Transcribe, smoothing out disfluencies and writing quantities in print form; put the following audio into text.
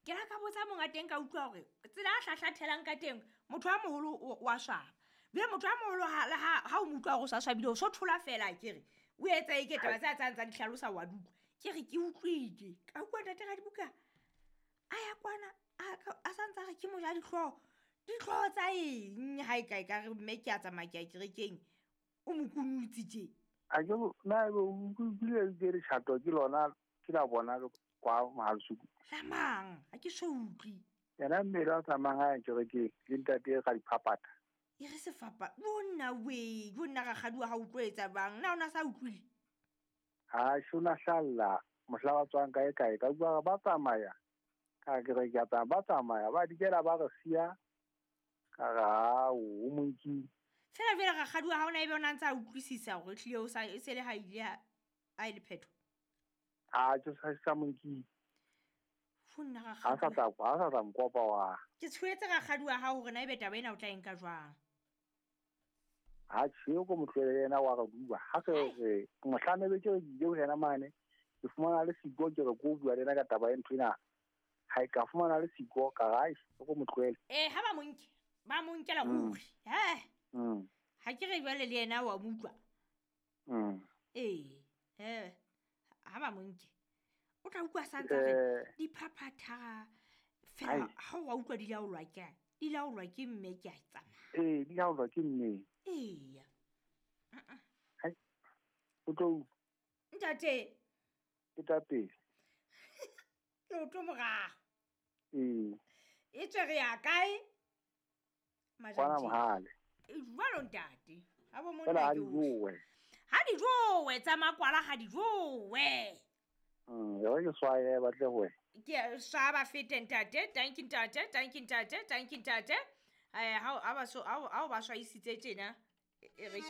Ke la ka botsa monga teng ka utlwa hore tsela a hlahlathelang ka teng motho a moholo wa swaba. Jwale motho a moholo ha o mo utlwa hore o sa swabile o so thola fela akere. O etsa eke taba tse a tsang tsa di hlalosa wa di utlwa. Ke re ke utlwile. Ka utlwa ntate Radibuka a ya kwana a sa ntse a re ke moja dihlooho. Dihlooho tsa eng ha e ka e ka re mme ke a tsamaya ke ya kerekeng. O mo kunutse tje. A ke na ebe o utlwile ke letjhato ke lona ke la bona kwa Mohalasuku. La mang? Ha ke so utlwe. Yena mmele a tsamayang a ya kerekeng le ntate ka diphaphatha. E re sefapa. Yo nna we, yo nna rakgadi wa hao o tlo etsa jwang? Na o na sa utlwile? Ha se o na hlalla mohla ba tswang kae kae ka utlwa ba tsamaya. Ka ke re ke a tsamaya ba tsamaya ba dikela ba re siya. Ka re ha o monkile. Fela jwale rakgadi wa hao na ebe o na ntse a utlwisisa hore ehlile o sa e se le ha ile a e le phetho. Ha ke sa monkile. Fo nna Ha sa rakgadi. tla ha sa tla nkopa wa. Ke tshohetse rakgadi wa hao hore na ebe taba ena o tla e nka jwang. Ha tjhe ko motlwele yena wa re bua. Ha re re mohlane be ke re ke ile ho yena mane. Ke fumana le siko ke re ko bua le yena ka taba e ntho ena. Ha e ka fumana le siko ka re ai ko motlwele. Ha ba mo nke. Ba mo nkela ruri. He. Ha ke re jwale le yena wa mo utlwa. Ha ba mo nke. O tla utlwa sa ntse a re diphaphatha fela ha o utlwa di laolwa ke di laolwa ke mme ke a tsamaya. Di laolwa ke mme. Eya. Hai. O tlo Ntate. Ke tla pele. Leoto morao. E tswe re ya kae? Kwana Mohale. Jwalo ntate. Ha bo monna Fela ha ke di o- jowe. Ha di jowe tsa makwala ha di jowe. E re ke swaye ba tle ho wena. Ke swa ba fete ntate, thank you ntate, thank you ntate, thank you ntate. Ha o ba so ha o ba swaisitse tjena. E re